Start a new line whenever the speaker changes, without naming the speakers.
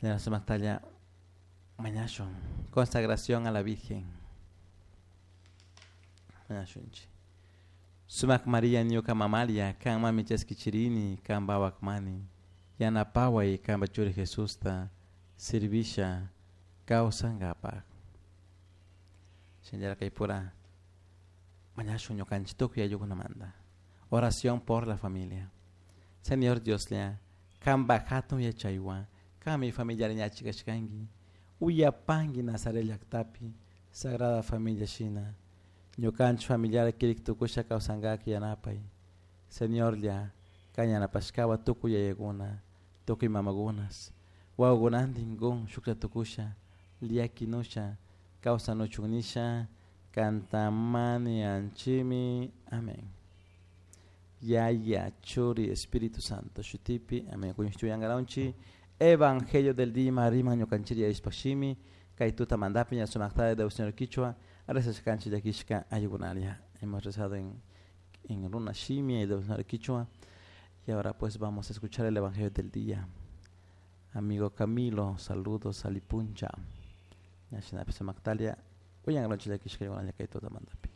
Sumaqtalla mañashun. Consagración a la Virgen. Mañashunchik. Sumak María ñuka mamalia, kan mami chaskichirini, kan bawak mani. Yanapaway kanpa churi Jesusta servisha kawsankapak. Shinallara kaypura mañashun ñukanchik tukuy ayllukunamanta. Oración por la familia. Señor Dioslla, kanpa hatun yachaywan, kanmi familiar ñachi kashkanki, uyapanki Nazaret llaktapi, Sagrada Familia shina, ñukanchik familiar kirik tukusha kawsankak yanapay. Señorlla, kan yanapashkawa tukuy yayakuna, tukuy mamakunas, wawakunantin kun shuklla tukusha, llakinusha, kawsanuchun nisha, kantamani anchimi. Amén. Yaya, Churi, Espíritu Santo, shutipi, amén. Kuñushtuyangaronchi, Evangelio del día, riman ñukanchiri yarishpashimi, kay tutamantapi ña sumakta de Señor Quichua, rezashkanchik llakishka ayukunalia. Hemos rezado en runa shimi, el Señor Quichua, y ahora pues vamos a escuchar el Evangelio del día. Amigo Camilo, saludos alipuncha. Ña shinapi sumaktalia, uyangaronchi llakishka ayukunalia kay tutamantapi.